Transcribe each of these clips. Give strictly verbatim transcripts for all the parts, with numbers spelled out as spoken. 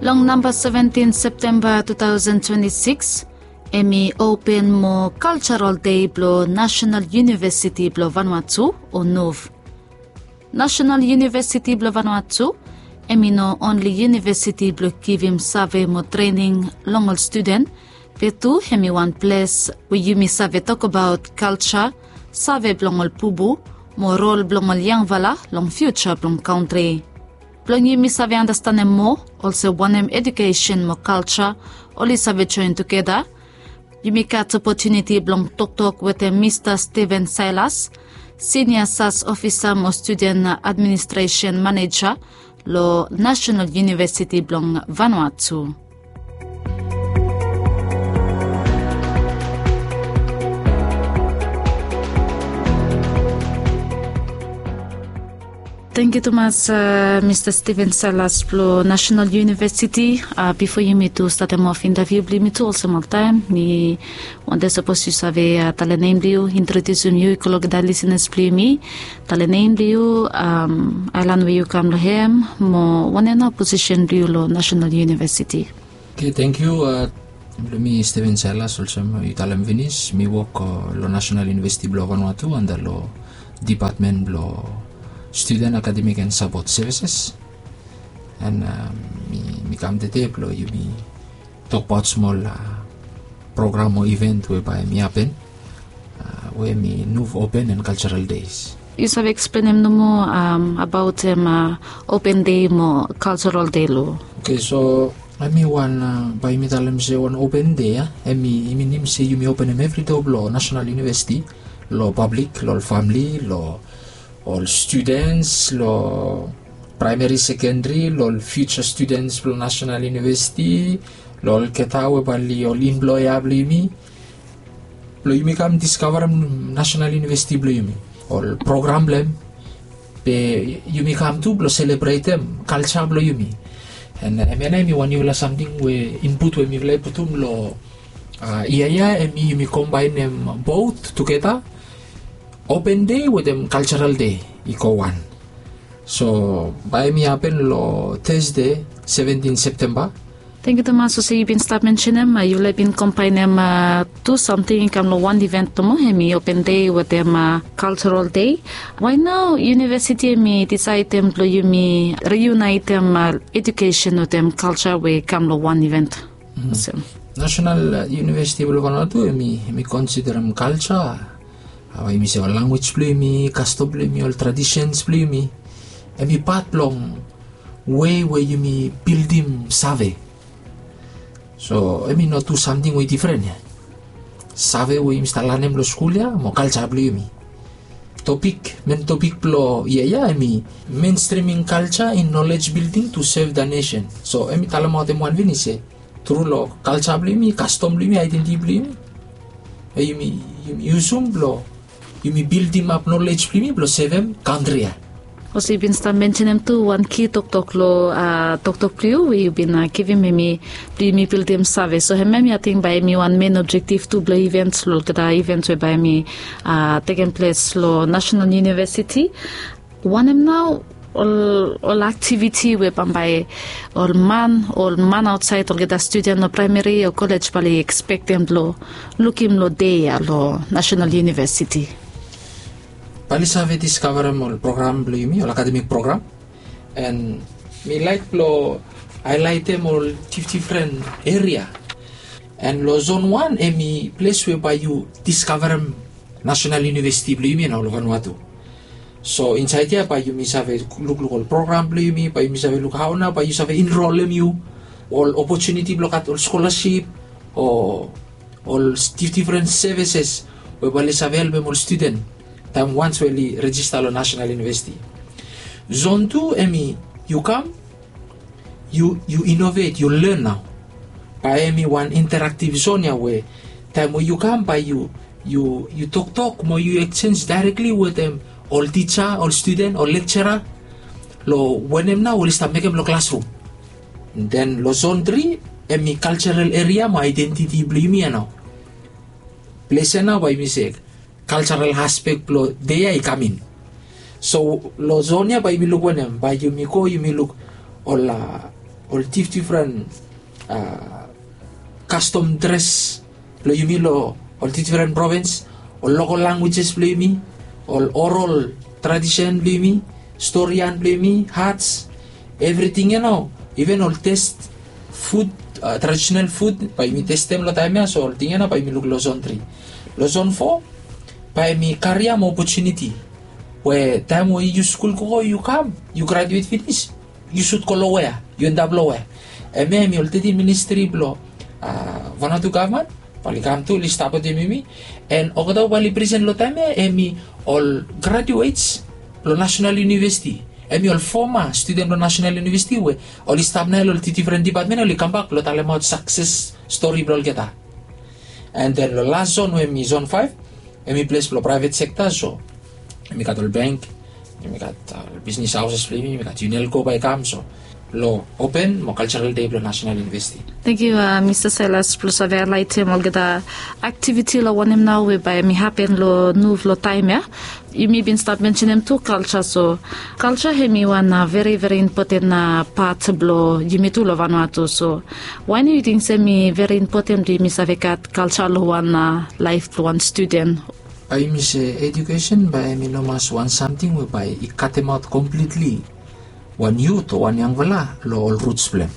Long namba seventin Septemba tu taosen twenti sikis, hemi open mo Cultural Day blo National University blo Vanuatu, o NUV. National University blo Vanuatu, hemi no onli univesiti blo givim save mo trening long ol studen, be tu hemi wan ples we yumi save tokbaot kalja, save blong ol bubu, mo rol blong ol yangfala long fiuja blong kantri. Blong yumi save andastanem moa olsem wanem ejukesen mo kalja oli save joen tugeta, yumi gat opotuniti blong toktok wetem Mista Steven Silas, Sinia Sas Ofisa mo Studen Administresen Maneja lo Nasenal Univesiti blong Vanuatu. Tangkiu tumas, a, Mista Steven Silas blo Nasenal Univesiti. A, bifo yumi tu statem of intaviu blo yumi tu, olsem oltaem, mi wantem sapos yu save, a, talem nem blo yu, introdiusim yu i go long olgeta lisenas blo yumi. Talem nem blo yu, am, aelan we yu kam long hem, mo wanem nao posisen blo yu long Nasenal Univesiti. Oke, tangkiu. A, blo mi Steven Silas, olsem yu talem finis, mi wok, a, long Nasenal Univesiti blo Vanuatu, anda long dipatmen blo Studen, Akademik and Sapot Sevises. And, a, mi, mi kam tede blo yumi tokbaot smol, a, program o iven we bae hemi hapen, a, we hemi NUV Open and Cultural Days. Yu save eksplenem nomo, am, abaot, em, a, Open Day mo Cultural Day lo? Oke, so hemi wan, a, bae yumi talem se wan Open Day, a, hemi, hemi min se yumi openem evri doa blo Nasenal Univesiti lo pablik, lo ol famle, lo ol studens, lo praemeri, sekenderi, lo ol future studens blo Nasenal Univesiti, lo olgeta we bae oli ol employer blo yumi, blo yumi kam diskavarem Nasenal Univesiti blo yumi, ol program blo hem, be yumi kam tu blo selebretem kalja blo yumi. And, a, hemia nao hemi wan niufala samting we input we mifala i putum lo, a, yia ya, hemi yumi kombaenem both tugeta, Open Day wetem Cultural Day i go wan. So bae hemi hapen lo Thursday, seventin Septemba. Tangkiu tumas, olsem yu bin stap mensenem, a, yufala bin kombaenem, a, tu samting i kam lo wan iven nomo, hemi Open Day wetem, a, Cultural Day. Why nao univesiti hemi disaedem blo yumi riunaetem, a, ejukesen wetem kalja we i kam lo wan iven? Mm. Olsem. Nasenal, a, Univesiti blo Vanuatu hemi, hemi konsiderem kalja, a, we yumi se ol lanwis blo yumi, kastom blo yumi, ol tradisens blo yumi, hemi pat blong wei we yumi bildim save. So hemi no tu samting we i difren ya. Save we yumi stap lanem lo skul ya mo kalja blo yumi. Topik, men topik blo yia ya hemi Mainstreaming Culture in Knowledge Building to Serve the Nation. So hemi talemaot hem wan finis se tru lo kalja blo yumi, kastom blo yumi, aedentiti blo yumi, e, yumi, yumi yusum blo yumi bildimap nolej blo yumi blo sevem kantri ya. Olsem yu bin stap mensenem tu wan ki toktok lo, a, toktok blo yu we yu bin, a, givim, hemi blo yumi bildim save. So hemia mi ating bae hemi wan men objektif tu blo ivens, lo olgeta ivens we bae hemi, a, tekem ples lo Nasenal Univesiti. Wanem nao ol, ol aktiviti we bambae ol man, ol man aotsaed, olgeta studen lo praemeri o kolej bae oli ekspektem blo lukim lo dei ya lo Nasenal Univesiti? Bae oli save diskavarem ol program blo yumi, ol akademik program. And mi laek blo haelaetem ol difdifren eria. And lo zon wan hemi ples we bae yu diskavarem Nasenal Univesiti blo yumi ya nao lo Vanuatu. So insaed ya bae yumi save lukluk ol program blo yumi, bae yumi save luk hao nao bae yu save enrolem yu, ol opotuniti blo gat ol skolasip, o ol difdifren sevises we bae oli save helpem ol studen taem wans we oli rejista lo Nasenal Univesiti. Zon tu hemi yu kam, yu, yu inovet, yu len nao. Bae hemi wan interaktif zon ya we taem we yu kam bae yu, yu, yu toktok mo yu eksenj daerekli wetem ol tija, ol studen, ol lekjera, lo wanem nao oli stap mekem lo klasrum. Den lo zon tri hemi kaljaral eria mo aedentiti blo yumi ya nao. Ples ya nao bae yumi se kaljaral aspek blo dei ya i kam in. So lo zon ya bae yumi luk wanem, bae yumi go yumi luk ol, a, ol difdifren kastom dres blong yumi long ol difdifren provins, ol lokol langwejes blong yumi, ol oral tradisen blong yumi, storian blong yumi, hats, evriting ya nao, iven ol test fud, tradisenal fud bae yumi testem long taem ya. So ol ting ya nao bae yumi luk long zon tri. Long zon fo bae yumi kariam opotuniti we taem we yu skul gogo yu kam, yu graduet finis, yu sud go long wea, yu endap long wea. Hemia hemi ol tetin ministri blong Vanuatu gavman bae oli kam tu oli stap wetem yumi. And olgeta we bae oli presen long taem ya hemi ol graduets blong nasenal univesiti. Hemi ol foma studen blong nasenal univesiti we oli stap nao long ol difdifren dipatmen, oli kambak blong talemaot sakses stori blong olgeta. And then long las zon we hemi zon faef, hemi ples blong praevet sekta. So yumi gat ol bank, yumi gat ol bisnis haoses blong yumi, yumi gat Unelco bae i kam. So long open mo kalsaral dei blong nasenal univesiti. Tangkiu, mista Sailas, blong save haelaetem olgeta aktiviti long wanem nao we bae hemi hapen long nuv long taem ya. Yumi bin stap mensenem tu kalsa. So kalsa hemi wan veri veri impoten pat blong yumi tu long Vanuatu. So wanem yu ting se hemi veri impoten blong yumi save gat kalsa long wan laef blong wan studen? Bae yumi se ejukesen bae hemi no mas wan samting we bae i katemaot komplitli wan yut o wan yangfala long ol ruts blong hem.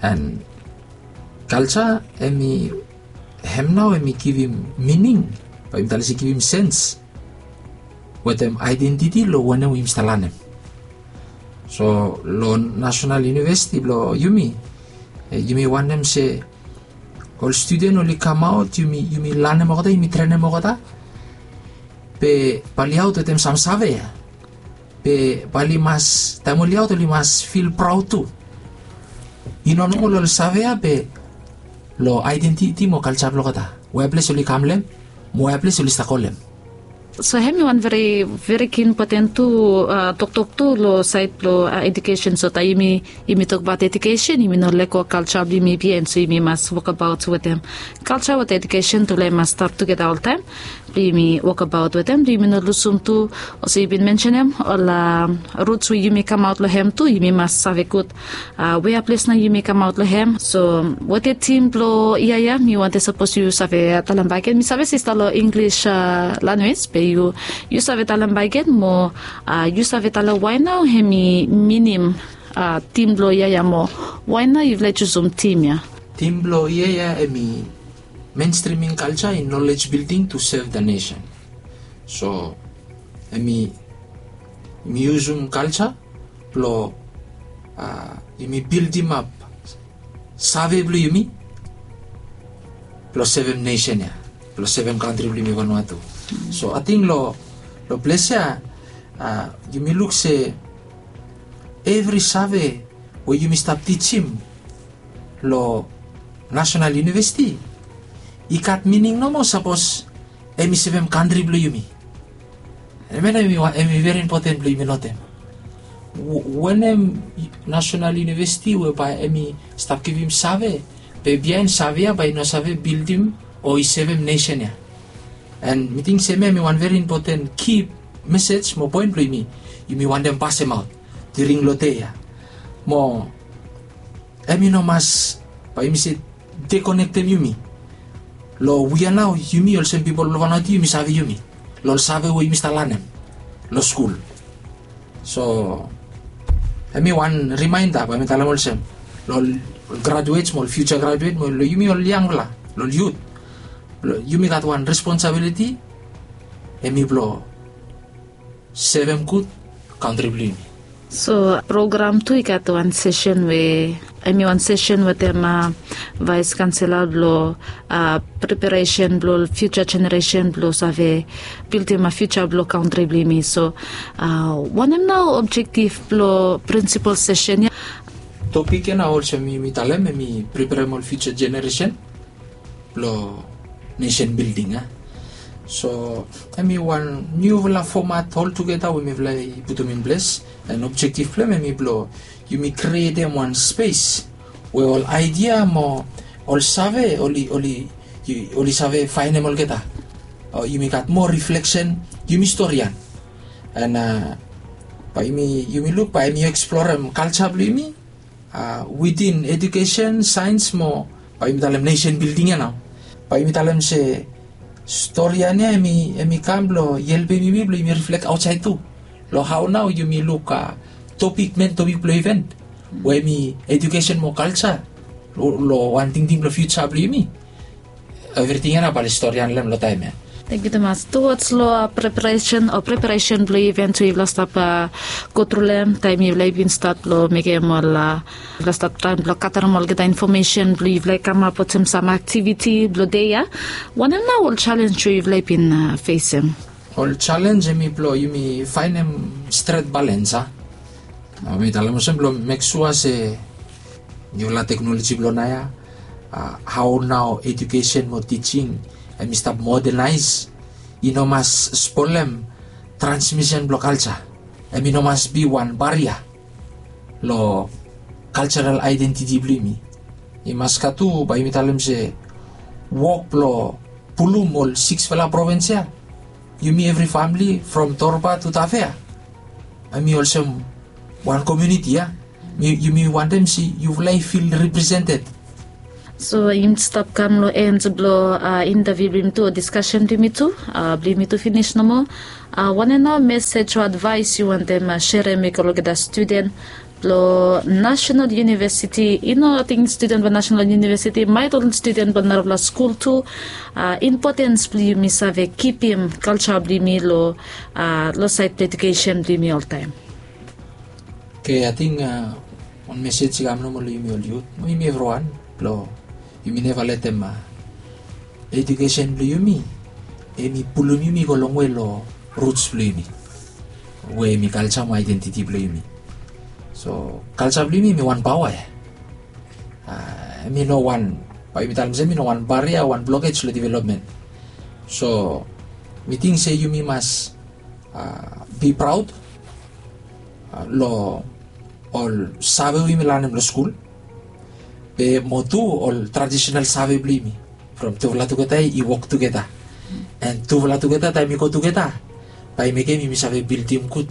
And kalsa hemi, hem nao hemi givim mining, bae yumi talem se givim sens wetem aedentiti long wanem we yumi stap lanem. So long nasenal univesiti blong yumi, yumi wantem se ol studen oli kamaot, yumi lanem olgeta, yumi trenem olgeta, be bae oli aot wetem sam save ya. Be bae oli mas, taem oli aot oli mas fil praod tu, i no nao long ol save ya be long aedentiti mo kalsa blong olgeta, wea ples oli kam long hem mo wea ples oli stap go long hem. So hemi wan veri, veri impoten tu toktok tu long saed blong ejukesen. So taem yumi tokbaot ejukesen, yumi no lego kalsa blong yumi biaen. So yumi mas wokbaot wetem kalsa wetem ejukesen, tufala i mas stap tugeta oltaem blong yumi wokbaot wetem, blong yumi no lusum tu, olsem yu bin mensenem, ol ruts we yumi kamaot long hem tu, yumi mas save gud wea ples nao yumi kamaot long hem. So wetem tim blong yia ya, mi wantem sapos yu save talem bakegen. Mi save se i stap long Inglis lanwis, be yu save talem bakegen mo yu save talem wae nao hemi minim tim blong yia ya mo wae nao yufala i jusum tim ya? Tim blong yia ya hemi mainstreaming culture in knowledge building to serve the nation. So hemi, yumi yusum kalsa blong yumi bildimap save blong yumi blong sevem nesen ya, blong sevem kantri blong yumi Vanuatu. So ating long ples ya yumi luk se evri save we yumi stap tijim long nasenal univesiti i gat mining nomo sapos hemi sevem kantri blong yumi. Hemia nao hemi veri impoten blong yumi notem. Wanem nasenal univesiti we bae hemi stap givim save, be biaen save ya bae i no save bildim o i sevem nesen ya. And mi ting se hemia hemi wan veri impoten ki mesej mo poen blong yumi, yumi wantem pasemaot during long dei ya. Mo hemi no mas bae yumi se dekonektem yumi long we ya nao yumi olsem pipol blong Vanuatu yumi save yumi long ol save we yumi stap lanem long skul. So hemi wan rimaenda bae mi talem olsem long ol graduets mo ol fiuja graduet mo long yumi ol yangfala, long ol yut, yumi gat wan responsabiliti, hemi blong sevem gud kantri blong yumi. So program tu i gat wan sesen we hemi wan sesen wetem vaes kaonsela blong preparesen blong ol fiuja jeneresen blong save bildim fiuja blong kantri blong yumi. So wanem nao objektif blong prinsipol sesen ya? Topik ya nao olsem yumi talem, hemi preparem ol fiuja jeneresen blong nesen bilding ya. So hemi wan niufala fomat oltugeta we mifala i putum in ples. And objektif blong hem hemi blong yumi krietem wan spes we ol aedia mo ol save oli, oli save faenem olgeta. Yumi gat moa rifleksen, yumi storian. And bae yumi luk bae hemi eksplorem kalsa blong yumi Witin edukesen, saens mo, bae yumi talem nesen bilding ya nao, bae yumi talem se stori ya nao em i kam blong helpem yumi blong yumi riflek aotsaed tu, long hao nao yumi luk topik, men topik blong iven we em i edukesen mo kaltsa, long wan tingting blong fiutsa blong yumi. Evriting ya nao bae oli stori ya long taem ya. Tangkiu tumas. Tuwaj long preparesen o preparesen blong iven tu, yufala stap go tru long em taem yufala i bin stat long mekem ol, yufala stap traem blong gatarem olgeta infomesen blong yufala i kamap wetem sam aktiviti blong dei ya. Wanem nao ol jalenj we yufala i bin fesem? Ol jalenj em i blong yumi faenem stret balens a. Mi talem olsem blong mek sua se niufala teknoloji blong naoia, hao nao edukesen mo tijing em i stap modenaes, i no mas spolem transmisen blong kaltsa. Em i no mas bi wan baria long kaltsaral aedentiti blong yumi. I mas gat tu bae yumi talem se wok blong pulum ol siksfala provins ya, yumi evri famle from Torba tu Tafea, em i olsem wan komuniti ya. Yumi wantem se yufala i fil represented. So yumi stap kam long en blong intaviu blong yumi tu o diskasen blong yumi tu, blong yumi tu finis nomo. Wanem nao mesej o advaes yu wantem serem i go long olgeta studen blong Nasenal Yunivesiti, i no ating studen blong Nasenal Yunivesiti, maet ol studen blong narafala skul tu, impotens blong yumi save kipim kaltsa blong yumi long saed blong edukesen blong yumi oltaem? Oke, ating wan mesej i kam nomo long yumi ol yut mo yumi evriwan blong yumi neva letem edukesen blong yumi em i pulum yumi i go longwe long ruts blong yumi, we em i kaltsa mo aedentiti blong yumi. So kaltsa blong yumi em i wan paoa ya. Em i no wan, bae yumi talem se em i no wan baria, wan blokej long developmen. So mi ting se yumi mas bi praod long ol save we yumi lanem long skul, be mo tu ol tradisenal save blong yumi from tufala tugeta i wok tugeta. An tufala tugeta taem i go tugeta bae i mekem yumi save bildim gud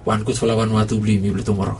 wan gudfala vanua tu blong yumi blong tumora.